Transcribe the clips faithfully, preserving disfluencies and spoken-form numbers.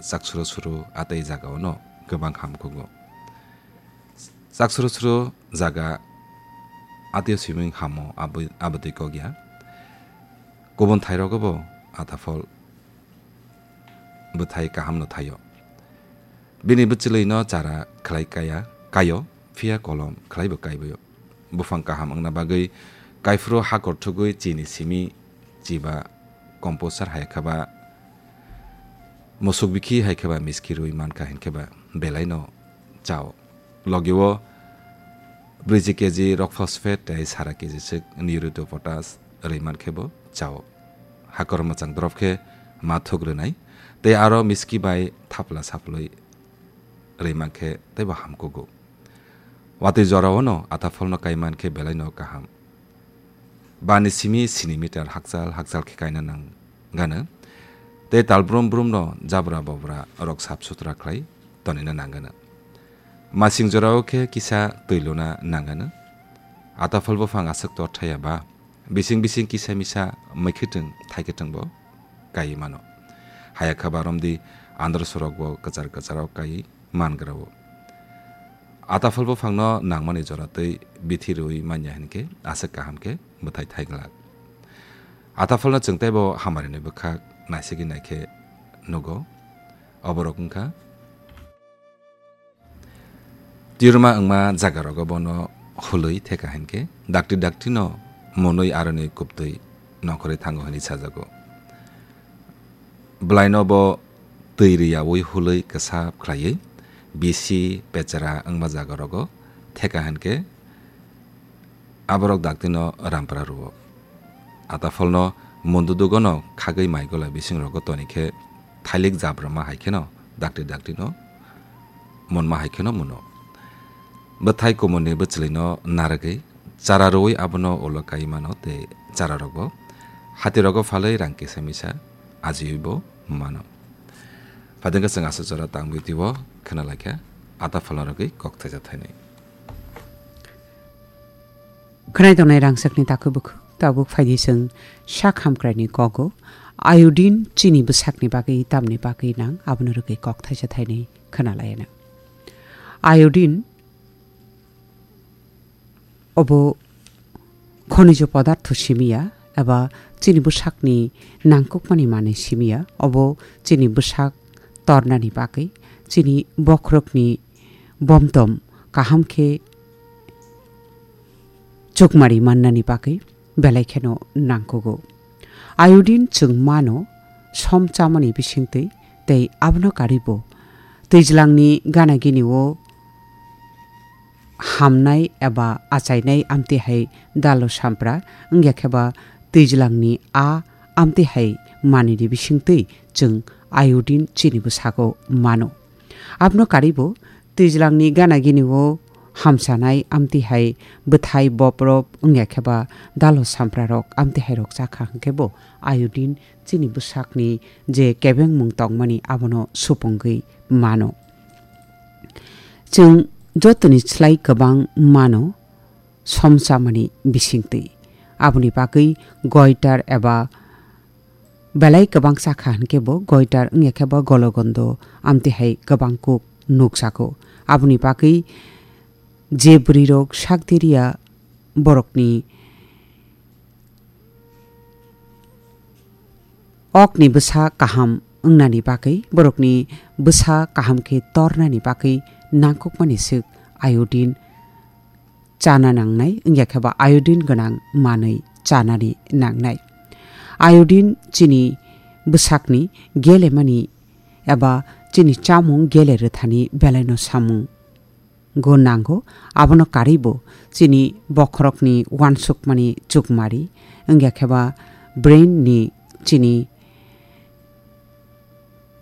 chaksuro suro atei jagao no kwbang ham kugo. Chaksuro suro jaga atio siming hamo abo, abotwi kok ya. Kubun thairogo bo ataphol bwthai kaham no thaio. Bini bwchwlwi no chara khlai kaya, kaio, phiya kolom khlai bo kaibaio. Buphang kaham wngna bagwi kaiphuru hakor thugwi chini simi chiba composer hai khe ba musuk bikhi hai khe ba miski rwi mankha hin khe ba belai no chao. Logi o brwiji keji rock phosphate tei sara keji swk niruto potash rwi man khe bo chao. Hakor mwchang drop khe ma thuk rwnai tei aro miski bai thapla saplwi rwi man khe tei bo ham kugo. Watwi jorao no atapholno kai man khe belai no kaham. Bani simi sini meter hakchal hakchal khe kaina nang gana. Tei tal brum brum no jabra bobra rok sap sutra khlai tonina nang gana. Masing jorao khe kisa twi luna nang gana. Ataphol buphang aswk tor thaya ba. Bising bising kisa misa mwkhwtwng thaikhe twngbo kai mano. Haya khe ba romdi andro sorok bo kwchar kwcharo kai mangra o. Ataphol buphangno nangmani jora twi bithi rwi manya hinkhe aswk kaham khe bwthai thai glak. Atapholno chwng teibo hamarini bwkhak naisigwi naikhe nugo. Oborok wngkha Tirma wngma jagarogo bono hulwi theka hinkhe dakti dakti no monwi aroni kubtwi nongkhorwi thango hwnwi sajago. Bwlaino bo twi rwyaui hulwi kwsap khlaiwi bisi pechera wngma jagarogo theka hinkhe aborok daktino rampra rwo. Atapholno mundudugono khagwi mai gola bisingrogo tonikhe thailik jabrama hai kheno dakti daktino munma hai kheno muno. Bwthai kumunni bwchwlwino narwgwi chara rwui abono ulo kai mano tei chararokbo hatirogo phalwi rang kisa misa ajiwibo mano. Phaidengkhe chwng aswk jora tangwi twibo khwnalaikha atapholno rwgwi kok thaisa thainwi. Khwnai tongnai rangchakni takhuk bukhuk tabuk phaidi chwng sak hamkraini kogo iodine chini bwsakni bagwi tamni bagwi nang abono rwgwi kok thaisa thainwi khwnalaina. Iodine obo khonijo podartho simi ya eba chini bwsakni nangkukmani manwi simi ya. Obo chini bwsak tornani bagwi, chini bokhorokni bomtom kaham khe chukmari mannani bagwi belai kheno nangkugo. Iodine chwng mano som chamani bisingtwi tei abono karibo twijlangni gana gini o hamnai eba achainai amtwi hai dalo sampra wngya khe ba twijlangni a amtwi hai manwini bisingtwi chwng iodine chini bwsago mano. Abono karibo twijlangni gana gini o hamsanai amtwi hai bwthai boprop wngya khe ba dalo samprarok amtwi hai rok chakha hwnkhe bo iodine chini bwsakni je kebengmung tongmani abono supungwi mano. Chwng jotoni slai kwbang mano som chamani bisingtwi. Aboni bagwi goitar eba belai kwbang chakha hwnkhe bo goitar wngya khe bo gologondo amtwi hai kwbang kuk nukjago. Aboni bagwi je bwrwirok sak diriya borokni okni bwsa kaham wngnani bagwi, borokni bwsa kaham khe tornani bagwi nangkukmani swk iodine chana nangnai, wngya khe ba iodine gwnang manwi chanani nangnai. Iodine chini bwsakni gelemani eba chini chamung gele rwthani belaino samung go nango, abono karwibo chini bokhorokni uansukmani chukmari, wngya khe ba brain ni chini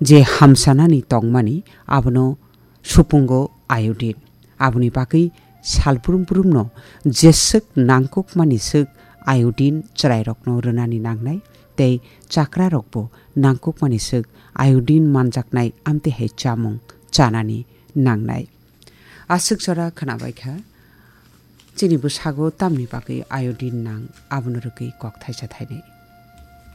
je hamsanani tongmani, abono supungo iodine. Aboni bagwi sal brum brumno jeswk nangkukmani swk iodine chwrairokno rwnani nangnai, tei chakrarokbo nangkukmani swk iodine manjaknai amtwi hai chamung chanani nangnai. Aswk jora khwnabai kha, chini bwsago tamni bagwi iodine nang, abono rwgwi kok thaisa thainwi.